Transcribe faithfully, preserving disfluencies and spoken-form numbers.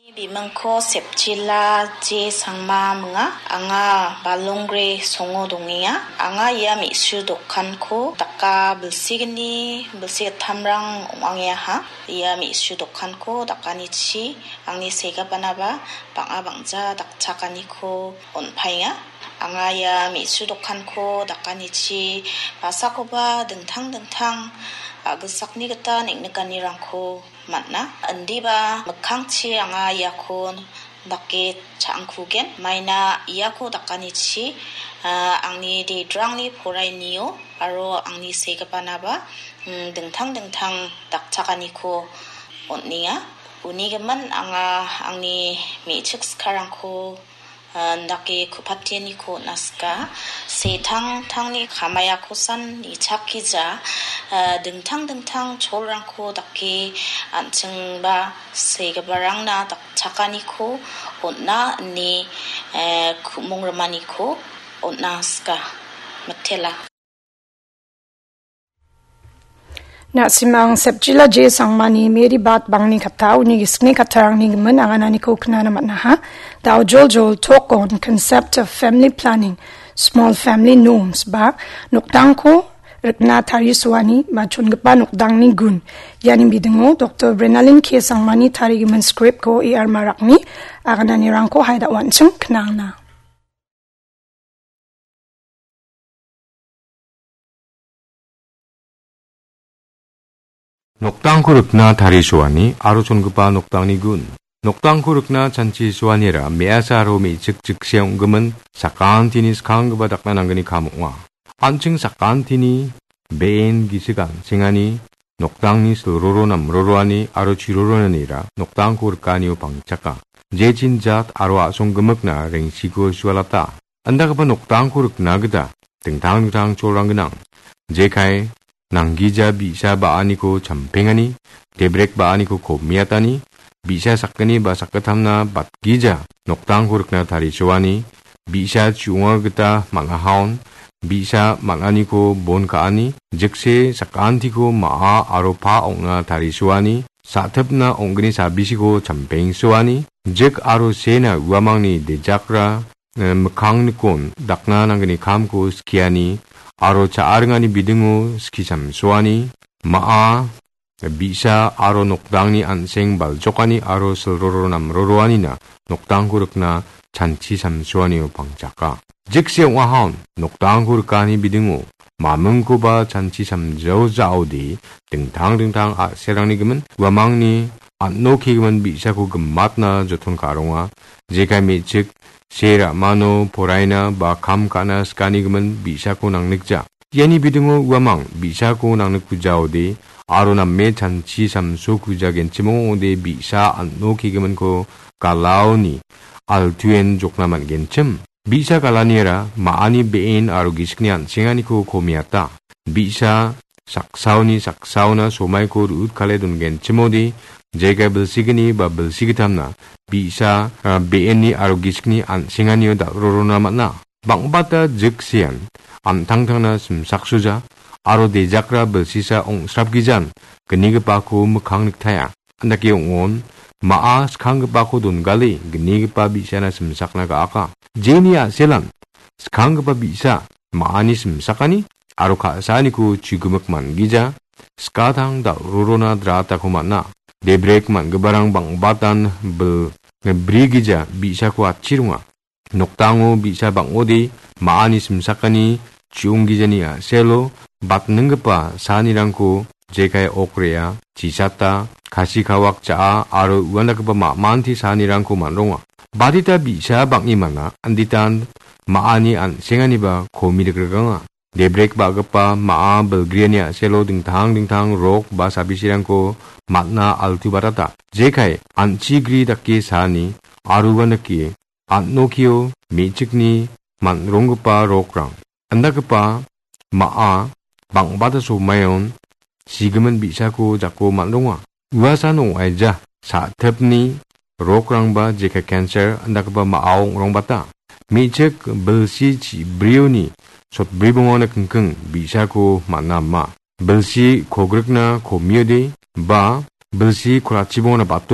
Bimingko Sepchila J Sangma minga. Anga Balongre songo dongenga. Anga ia me·su dokanko daka bilsigni, bilsi gittamrang ong·angeaha. Ia me·su dokanko dakanichi angni segipanaba bang·a bang·ja dakchakaniko on·paenga. Anga ia me·su dokanko dakanichi basakoba dingtang dingtang a·gilsakni gita neng·nikanirangko man·a. Indiba mikkangchi anga iako dake cha·angkugen. Maina iako dakanichi, ah, angni dedrangni porainio aro angni segipanaba, mm, dingtang dingtang dakchakaniko on·enga. Uni gimin anga angni me·chik sikarangko, ah, indake ku·patianiko on·a sika. Setangtangni kamaiakosan nichakija, ah, dingtang dingtang cholrangko dake an·chingba segiparangna dakchakaniko on·a ine, eh, ku·mong rimaniko on·a sika. Mitela. Na·simang Sepchila J Sangmani Mary Bat bangni katta uni gisikni kattarangni gimin angananiko knana man·aha. Daojoljol talk on concept of family planning, small family norms ba nokdangko rikna tarisoani ba chongipa nokdangni gun. Iani bidingo Doktor Brenalin K Sangmani tarigimin script-ko A R Marakni agananirangko haida wan·ching knangna. Nokdangko rikna tarisoani aro chongipa nokdangni gun. Nokdangko rikna chanchisoanira me·asa aro me·chik jikse ong·gimin sakantini skanggipa dakna nanggni kam ong·a. An·ching sakantini be·en gisik an·sengani, nokdangni silroro namroroani aro chiroronanira nokdangko rikanio pangchaka. Jechin jat aro a·song gimikna rengsiko sualata. Indakgipa nokdangko rikna gita dingtang dingtang cholrang gnang. Jekai nanggija bi·sa ba·aniko champengani, debrek ba·aniko komiatani, bi·sa sakgni ba sakgittamna batgija nokdangko rikna tarisoani, bi·sa chu·onga gita man·ahaon, bi·sa man·aniko bon ka·ani, jikse sakantiko ma·a aro pa ong·na tarisoani, sa·tipna ong·gni sabisiko champengsoani, jik aro sena uamangni dejakra, eh, mikkangnikon dakna nanggni kamko skiani aro cha·a ringani bidingo skisamsoani, ma·a, bi·sa aro nokdangni an·seng baljokani aro silroro namroroanina nokdangko rikna chanchi samsoanio pangchaka. Jikse ong·ahaon nokdangko rikani bidingo mamingkoba chanchi samjao ja·ode dingtang dingtang a·serangni gimin uamangni an·o kegimin bi·sako gimatna joton ka·ronga. Jekai me·chik se ra·mano poraina ba kam ka·na sikanigimin bi·sako nangnikja. Iani bidingo uamang bi·sako nangnikkujaode aro name chanchi samsokujagenchim ong·ode bi·sa an·o kegiminko galaoni altuen jokna man·genchim. Bi·sa galaniara ma·ani be·en aro gisikni an·senganiko komiata. Bi·sa saksaoni saksaona somaiko ru·utkale dongenchimode jekai bilsigni ba bilsigitamna bi·sa, ah, be·enni aro gisikni an·senganio dal·rorona man·a. Bang·bata jiksean an·tangtangna simsaksoja aro dejakra bilsisa ong·srapgijan gnigipako mikkang niktaia. Andake ong·on, ma·a skanggipako dongale gnigipa bi·sana simsakna ga·aka. Jeni a·selan skanggipa bi·sa ma·ani simsakani aro ka·saaniko chigimik man·gija, skatang dal·rorona dratako man·a. Debrek man·giparang bang·batan bil brigija bi·sako atchironga. Nokdango bi·sa bang·ode ma·ani simsakani chiunggijani a·selo batninggipa saanirangko jekai okrea, chisata, kasi kawak ja·a aro uandakgipa ma·manti saanirangko man·ronga. Badita bi·sa bang·imana anditan ma·ani an·senganiba komi rikrikanga. Debrek ba·gipa ma·a bilgriani a·selo dingtang dingtang rok ba sabisirangko man·a altu batata. Jekai an·chi gri dake saani aro uandake an·okio me·chikni man·ronggipa rokrang. Andagipa ma·a bang·bata somaion sigimin bi·sako jako man·ronga. Uasan ong·aija sa·tipni rokrangba jekai cancer andagipa ma·a ong·rongbata. Me·chik bilsi chi·brioni sotbribongona kingking bi·sako man·a ama. Bilsi kogrikna komiode ba bilsi kolachibongona bat-